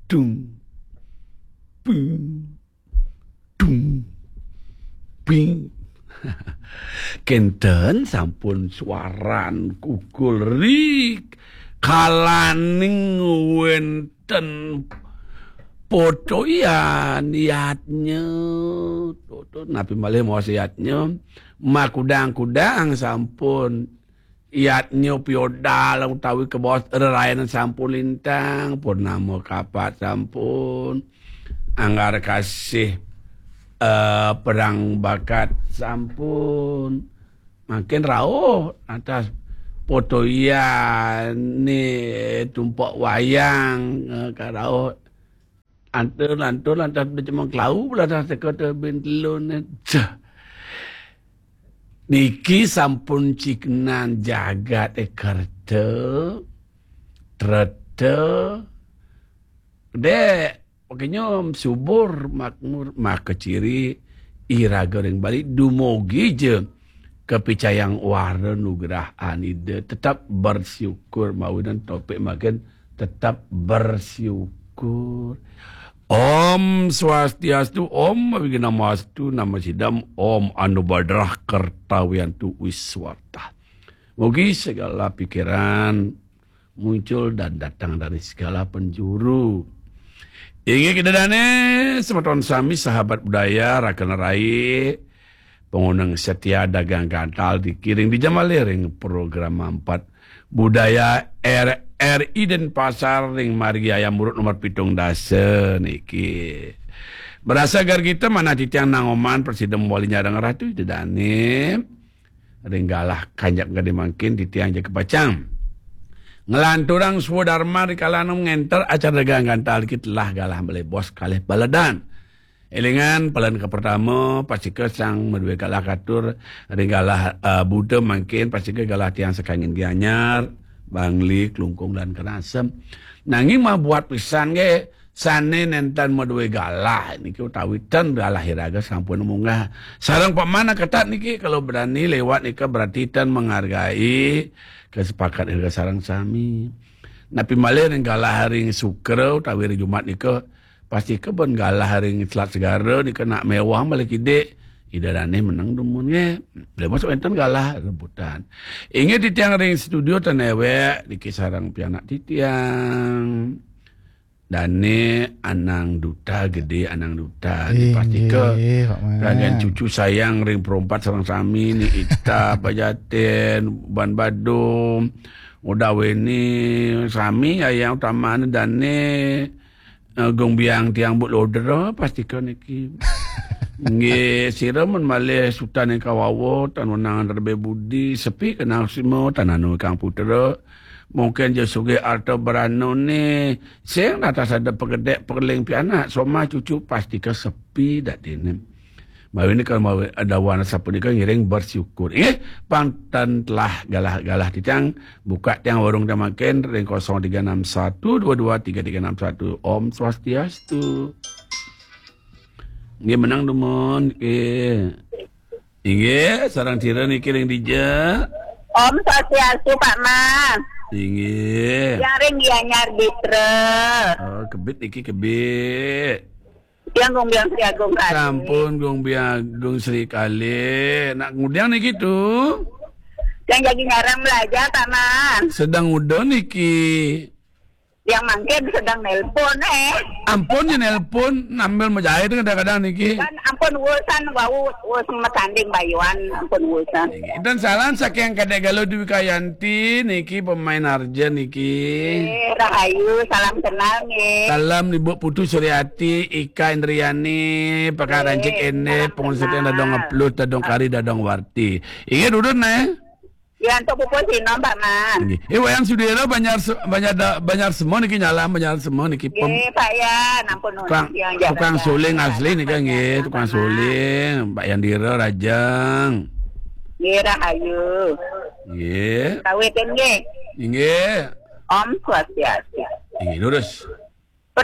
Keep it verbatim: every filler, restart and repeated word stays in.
Dung, bing, dung, bing. Kenten sampun suaran kukul ri kalaning wenten potoyan yatnya. Tuh, tuh, napi malih maos yatnya? Makudang-kudang sampun. Yatnya piodal utawi kebaos rerayan sampun lintang, purnama kapat sampun, anggar kasih, eh, perang bakat sampun. Makin rauh atas potoyan ni tumpok wayang, eh, karauh. Antur-antur lantas becemong klau, lantas teka tebin telun. Cah. Niki sampun ciknan jagat e kerta, treta. Dek, pakenyum, subur, makmur, maka ciri iraga ring Bali, dumugi ja kapicayang wara nugrahan Ida, tetap bersyukur, mawinan topik mangkin tetap bersyukur. Om Swastiastu, Om Awighnamastu, Namo Siddham, Om Anubadrah Kartawiantu Wiswartah. Mugi segala pikiran muncul dan datang dari segala penjuru. Inggih Ida dane, semeton sami sahabat budaya, rakan rai, panguneng setia dagang gantal dikiring di jamalih ring program empat budaya R R I Denpasar ring margi Ayam Urut nomor pitung dasa niki. Berasa gar kita manah titiang nangoman prasida mawali nyareng Ratu Ida dane. Ring galah kanjak gede mangkin titiang jaga pacang nglanturang swadarma rikala ngenter acara dagang gantal kita lah galah melebos kalih baledan. Elingan, palen kapertama, pastika sang madue galah katur, ring galah, eh, Buda mangkin, pastika galah tiang sakangin Gianyar, Bangli, Klungkung, dan Kenasem. Nanging mabuat pisan nggih, sane nenten madue galah niki utawi ten galah iraga sampun munggah. Sareng pamana ketat niki, kalau berani lewat nika berarti ten menghargai kesepakatan iraga sareng sami. Napi malih ring galah ring Sukra utawi ring Jumat nika, pastika ben galah ring Selat Segara nika nak mewah malih kidik. Ida dane meneng dumun nggih. Lah masuk enten galah rebutan. Inggih titiang ring studio ten ewek niki sareng pianak titiang. Dane Anang Duta, Gede Anang Duta. Inggih, pastika Pak Man. Ragan cucu sayang ring perompat sareng sami ni Ita, Pajaten, Ban Badung, Udaweni, sami ayang utamane dane, eh, Gung Biang tiang Bu Lodra, pastika niki. Nggih, sira men malih Sutan ing Kawawa, tan wenang rebe budi, sepi kenal sima, tan anu kang putra. Mungkin ja sugih arta beranane, sing natas ada pegedek pegeling pianak, somah cucu pastika sepi dak dene. Mawi nika mawi dawan sapunika ngiring bersyukur. Inggih, pang ten telah galah-galah titiang, buka tiang warung tiang mangkin ring kosong tiga enam satu dua dua tiga tiga enam satu. Om Swastiastu. Nggih, menang dumun. Nggih. Inggih, sareng sira niki ring dija. Om Swastiastu, Pak Man. Inggih. Yang ring Gianyar Bitra. Oh, kebit niki kebit. Yang Gung Biang Sri Agung Kali. Sampun Gung Biang Agung Sri Kali. Nak ngudiang niki tu? Yang jagi ngarang belajar, Pak Man. Sedang udah niki. Yang mangkin sedang nelpon, eh. Ampun ya nelpon, nambil majahit kadang-kadang niki. Kan ampun urusan wau, wus matanding bayuan, ampun urusan. Dan salam saking Kadek Galuh Dwi Kayanti niki pemain arja niki. Eh, rahayu, salam kenal nggih. Salam Ibu Putu Suryati, Ika Indriani, Pakar Rancik Ene, salam pengusaha kenal. Dadong Ngeplut, Dadong Kari, Dadong Warti. Inggih, durun, eh. Ya, untuk pupus sinom, Pak Man. Nggih. Eh, Wayang Sudira Banjar Se-, Banjar Da-, Banjar Semua niki nyalam, Banjar Semua niki pem-, nggih, Pak Yan, ampun nuwun, tukang, yang tukang jaga suling jaga asli nika, Pak nggih, Yan, tukang Pak Man. Suling, Pak Yandira Rajeng. Nggih, rahayu. Nggih. Kawitin nggih. Nggih. Om Swastiastu. Nggih, lurus.